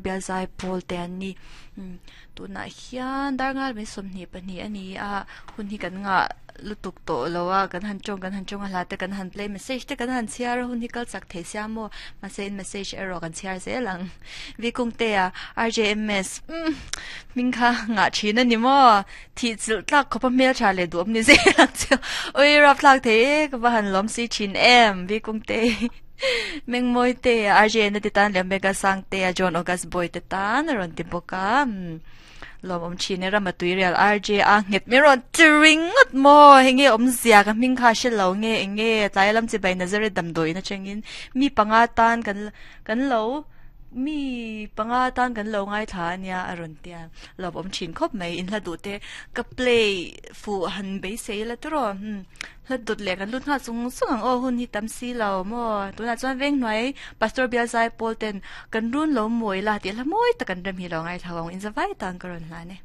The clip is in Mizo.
Bial Zaipawl te an ni. Umm tunah hian darngal mai 22 a ni a, hun hi kan ngah lutuk tawh lo a, kan han tawng kan han tawng a hla te kan han play message te kan han chhiar a hun hi kal chak thei sia maw mahse in message erawh kan chhiar zel ang. Vikungtea RJMS umm hming kha ngah thin a ni maw thih chilh tlak khawp a hmel tha leh duhawm ni zel ang chu ui rap thlak thei e ka va han lawm si thin em Vikungte Mengmawite RJN te tan leh Omega Sangtea John August Boy te tan a rawn ti bawk a umm lawmawm thin e Rama Tuirial RJ a nghet mai rawn ti ringawt maw hei nge awmzia ka hming kha a hre lo nge eng nge tlai lam chibai Nazareth damdawiin atangin mi panga tan kan kan lo mi panga tan kan lo ngaithla ania a rawn tia lawmawm thin khawp mai inhla duh te ka play fuh han beisei la tawrh umm. Hlat dawt leh kan lut nghal chung chung ang aw hun hi tam si lo maw tunah chuan veng hnuai pastor bial zai pawl ten kan run lo mawi la tih hla mawi tak an rem hi lo ngaithla ang in zavai tan ka rawn hlan e.